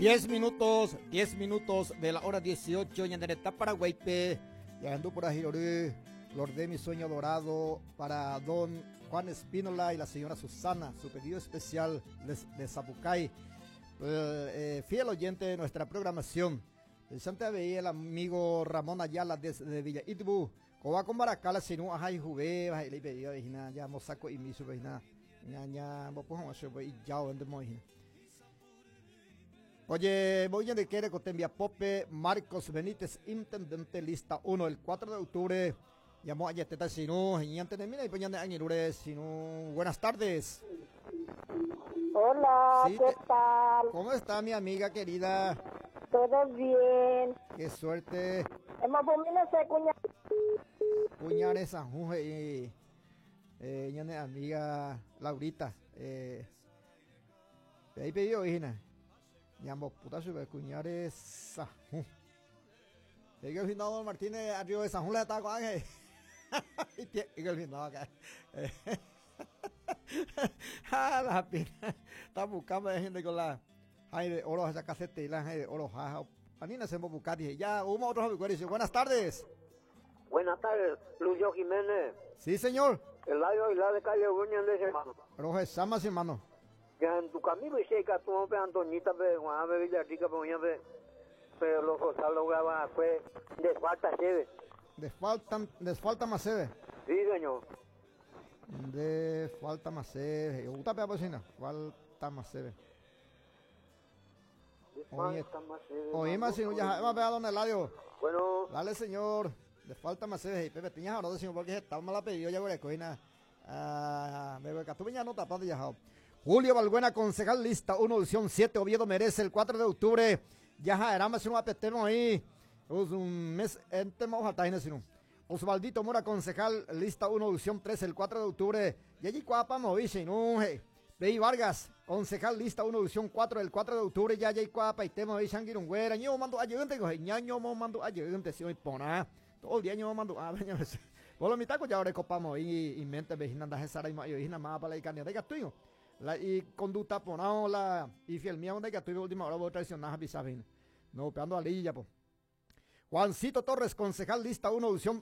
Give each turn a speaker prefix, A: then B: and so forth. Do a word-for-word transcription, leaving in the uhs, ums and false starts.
A: Diez minutos, diez minutos de la hora dieciocho, ñane retã Paraguáipe, ñahendu purahéi rory, Flor de mi sueño dorado, para don Juan Espínola y la señora Susana, su pedido especial de Zapucay, eh, fiel oyente de nuestra programación. El Santa veía el amigo Ramón Ayala desde Villa Itbu, kóva ko mbaraka la che irũ ahayhuvéva, he'i la ipedido hína, ya mosako'imi chupe hína, ñaña mbopu hag̃ua chupe ijao ndemoi hína. Oye, voy a quiere con Pope Marcos Benítez, intendente lista uno, el cuatro de octubre. Llamó a Yeteta Sinu, mira, y Buenas tardes.
B: Hola,
A: Sí,
B: ¿qué
A: te-
B: tal?
A: ¿Cómo está mi amiga querida?
B: Todo bien.
A: Qué suerte.
B: Hemos comido se cuña.
A: Cuñare Sanjuje y eh, ñane amiga Laurita. Eh, de ahí pedido, hija. Ñambo puta sube cuñare Sanjú. Y el final don Martínez arriba de Sanjú le está con Ángel. Y el final acá. Ah, la pina. Está buscando gente con la jai de oro, esa caseta y la jai de oro, jaja. Anina se buscar, dije, ya, hubo otro dice, buenas tardes.
C: Buenas tardes, Lucio Jiménez.
A: Sí, señor.
C: Eladio Aguilar de calle Uña de hermano.
A: Roger Samas, hermano.
C: Ya en tu camino y seca, tu hombre Antoñita, pe, Juan, pe, Villarrica, pe, Uña, pe, pero los Rosales graba, fue de falta sede.
A: De falta, de falta más sede.
C: Sí, señor.
A: De falta más sede. Gusta pe, cocina. Falta más sede. Oye, oye, más si no ya más a don Eladio.
C: Bueno.
A: Dale, señor. De falta más sede. Pepe, tiña ahora señor, porque está mal pedido ya güey, coina. Ah, me voy a tu no tapado ya. Julio Balbuena, concejal lista uno, opción siete, Oviedo merece el cuatro de octubre. Ya era más un apetemo ahí. Un mes en tema sino. Osvaldito Mora, concejal lista uno, opción tres, el cuatro de octubre. Y allí cuapa movice, no, hey. Bey Vargas, concejal lista uno, opción cuatro, el cuatro de octubre. Ya allí cuapa y tema hoy sanguirungüera. Ño mando ayudante, coge ñaño mo mando ayudante, si hoy pona. Todo el día ño mando a por lo mitad ya ahora copamos y y mente vecina anda esa y y más para la icarnia de gatuyo. La y conducta ponao la y fiel mía donde que tuve última hora voy a traicionar a Bisabina. No, peando a lilla, po. Juancito Torres, concejal lista uno, opción